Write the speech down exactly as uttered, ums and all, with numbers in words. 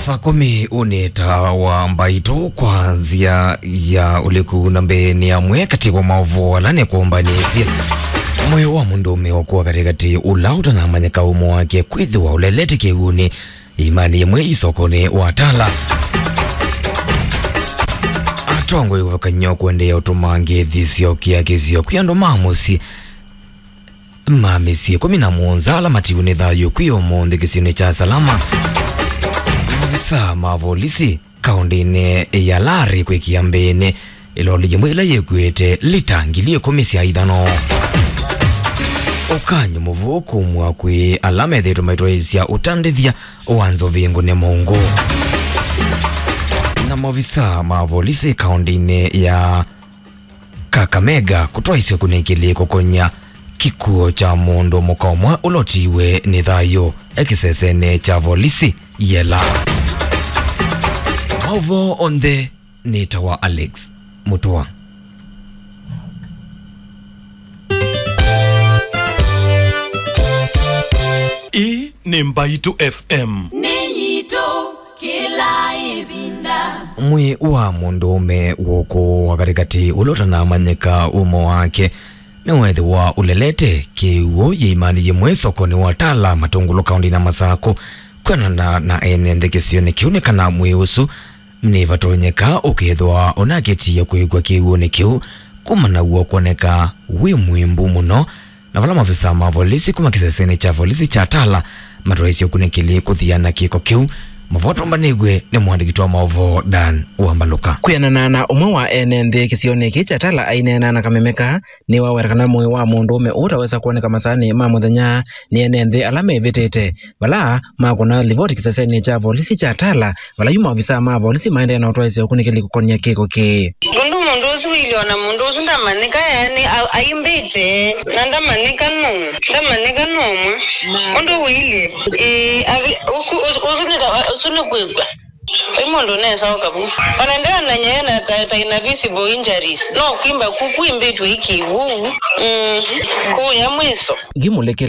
Saa kũmi ũnĩ ta wa mbaitũ kwa nzĩa ya ũliku, na mbee nĩ amwe katĩ wa maũvoo ala nĩkũmbanĩsye. Mwĩĩ wa mũndũũme ũkũa katĩkatĩ ũla ũtanamanyĩka ũmo wake kwĩthĩwa ũlelete kĩw'ũnĩ imanĩ yĩmwe isokonĩ wa Tala. Atongoi ũvakany'o kũendeea ũtũmangĩĩthi syokĩa kĩsio kwĩ andũ ma mũsyĩ ma mĩsyĩ ĩkũmi na mũonza ala matiwe nĩ thayũ kwĩ ũmũnthĩ kĩsionĩ kya Salama. Maovisa ma volisi kaũndĩnĩ ya Lari kwĩkĩa mbĩnĩ ĩloli yĩmwe ĩla yĩkuĩte lita ngili ĩkũmi sya ithano. Ũkany'o mũvũ kumw'a kwĩ ala methĩĩtwe maitwaĩĩsya ũtandĩthya wa nzovi ngũne mũngũ. Na maovisa ma volisi kaũndĩnĩ ya Kakamega kũtwaisye ũkunĩkĩli kũkonya kĩkw'ũ kya mũndũ mũka ũmwe ũla ũtiwe nĩ thayũ e kĩsesenĩ kya volisi Yela. Maũvoo onthe nĩ ta wa Alex Mũtũa. Ĩĩ nĩ Mbaitũ F M. Nĩ yitũ kĩla ĩvinda. Mwĩĩ wa mũndũũme wũkũwa katĩkatĩ ũla ũtanamanyĩka ũmo wake nĩweethĩwa ũlelete kĩw'ũ yĩimanĩ yĩmwe sokonĩ wa Tala Matũngũlũ kaũndĩnĩ ya Masakũ. Kwĩanana na ene nthĩ kĩsionĩ kĩu nĩ kana mwĩĩ ũsu nĩvatonyeka ũkethĩwa ũnakĩtie kwĩkw'a kĩw'ũnĩ kĩu kumana na w'o kwoneka wĩ mwĩmbu mũno, na vala maovisa ma volisi kuma kĩsesenĩ kya volisi kya Tala matwaisye ũkunĩkĩli kũthiana kĩko kĩu. Maũvoo tũmbanĩw'e nĩ mũandĩki wa maũvoo Dan Wambalũka. Kwĩanana na ũmwe wa ene nthĩ kĩsionĩ kĩĩ kya Tala aineena na kamemeka, nĩwaweta kana mwĩĩ wa mũndũũme ũũ ũtawesa kwoneka masaanĩ ma mũthenya nĩ ene nthĩ ala mevĩtĩte, vala makũna livoti kĩsesenĩ kya volisi kya Tala, vala yu maovisa ma volisi maendeea na ũtwaĩsya ũkunĩkĩli kũkonia kĩko kĩĩ. Ũndũ mũndũ ũsu wĩilye, ona mũndũ ũsu ndamanyĩka, yaani a-, aimbĩte, na ndamanyĩka nũũ, ndamanyĩka nũmwe. Ũndũ wĩilye, ĩĩ, avi-, ũku-, ũsu, ũsu nĩ ta, ũsu nĩ kwĩkw'a. Vai mũndũ ũnesaũka vu. Ona ndeonany'a ena ta, ta ina visible injuries. No kwimba ku, kwimbĩtwe iki vu. Mm. Kũya mwĩso. Ngimũlĩkĩla